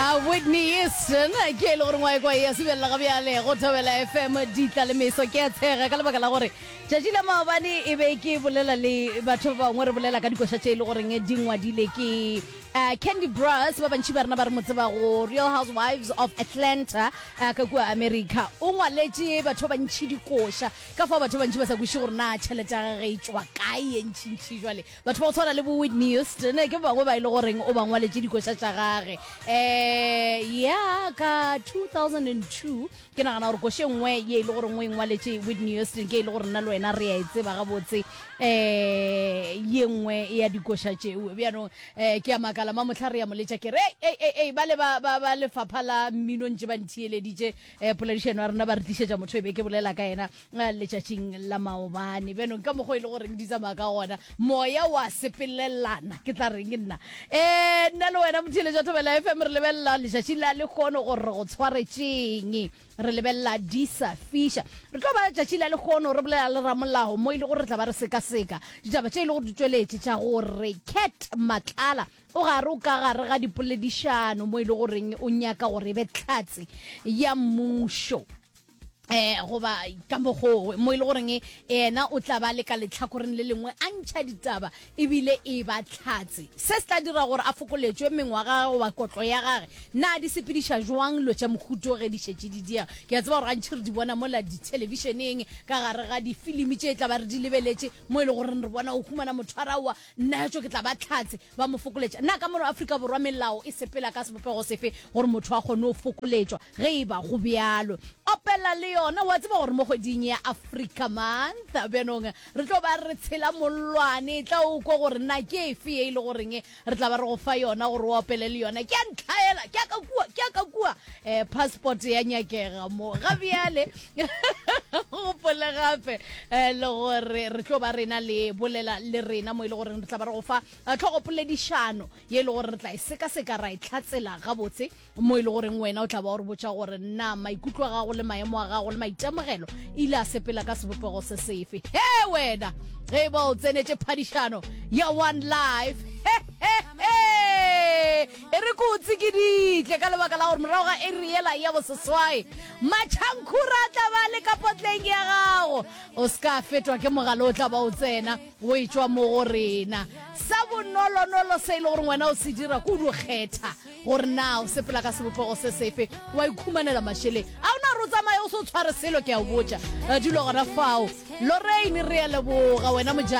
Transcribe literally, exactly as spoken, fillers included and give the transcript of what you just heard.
Uh, Whitney Houston ke e le gore ngwae kwa ya sebelela ga bjale go Thobela F M ditla le meso. Ke a tshega ka lebaka la gore tšatši la maobane e be ke bolela le batho ba bangwe, re bolela ka dikoša tše e le goreng di ngwadile ke uh, Kandi Burruss. Ba bantši ba rena ba re mo tseba go Real Housewives of Atlanta uh, ka kua America. O ngwaletše batho ba bantši dikoša, ka fao batho ba bantši ba sa kweše gore na tšhelete ya gage e tšwa kae ye ntšhintšhi. Jwale batho ba go tshwana le bo Whitney Houston ke ba bangwe ba e le goreng o ba ngwaletše dikoša tša gage. um ya ka two thousand and two ke nagana gore koše nngwe ye e le gore o e ngwaletše Whitney Houston ke e le gore nna le wena re a e tseba gabotse, um ye nngwe ya dikoša tšeo. Bjanong um ke a makala mamotlha re ya moletša ke re ei ei ei, ba le ba ba ba lefapha la mmino ntše ba ntheeleditše um poledišano ya rena, ba re tlišetša motho e be ke bolela ka yena eh, letšatšing la maobane. Bjanong ka mokgwa e le goreng di tsamaya ka gona, moya wa sepelelana, ke tla reng nna um nna le wena motheeletša Thobela F M, re lebelela letšatši la lekgono gore re go tshwaretšeng. Re lebelela di sa fiša. Re tlo ba letšatši la lekgono re bolela le ramolao, mo e le gore re tla ba re sekaseka ditaba tše e le gore di tšweletše tša gore Cat Matlala o gare o ka gare ga dipoledišano, mo e le goreng o nyaka gore e be tlhatse ya mmušo, eh goba ka mokgo mo e le goreng yena o tla ba le ka letlhakoreng le lengwe a ntšha ditaba ebile e ba tlhatse. Se se tla dira gore a fokoletšwe mengwaga goba kotlo ya gage. Na di sepediša jwang dilo tša mohuto ge di šetše di diega? Ke a tseba gore gantši re di bona mola dithelebišeneng, ka gare ga difilimi tše tla ba re di lebeletše, mo e le goreng re bona o humana motho a raowa, nna tšo ke tla ba tlhatse, ba mo fokoletša. Na ka mono Afrika Borwa melao e sepela ka sebopego sefe gore motho a kgone go fokoletšwa ge e ba go bjalo? Opela le yona. Wa tseba gore mo kgweding ya Africa Month bjanong re tlo ba re tshela mollwane. Tla o kwa gore na ke efe ye e le goreng re tla ba re go fa yona gore o opele le yona. Ke a ntlhaela, ke a ka kua, ke a ka kua, um passport ya nyakega mo ga bjale. Gopole gape um le gore re tlo ba rena le bolela le rena, mo e le goreng re tla ba re go fa eh, tlhogopoledišano ye e le gore re tla e sekaseka, ra e tlhatsela gabotse, mo e le goreng wena o tla ba o re botša gore na maikutlo a gago le maemo a gago le maitemogelo ile a sepela ka sebopego se sefe. He wena, ge e ba o tsenetše phadišano ya One Life, he, he, he, e re ko o tsekiditle ka lebaka la gore morago ga eri yela ya boseswai matšhankhura a tla ba le ka potleng ya gago. O se ka fetwa ke mogala o tla ba o tsena o e tšwa mo go rena. Sa bonolonolo se e le gore wena o se dira ke o dio kgetha gore na o sepela ka sebopego se sefe, wa ikhumanela mašeleng a ona re o tsamaye o se o tshware selo. Ke a o botša, dilo gona fao. Lorraine, re a leboga wena mojane.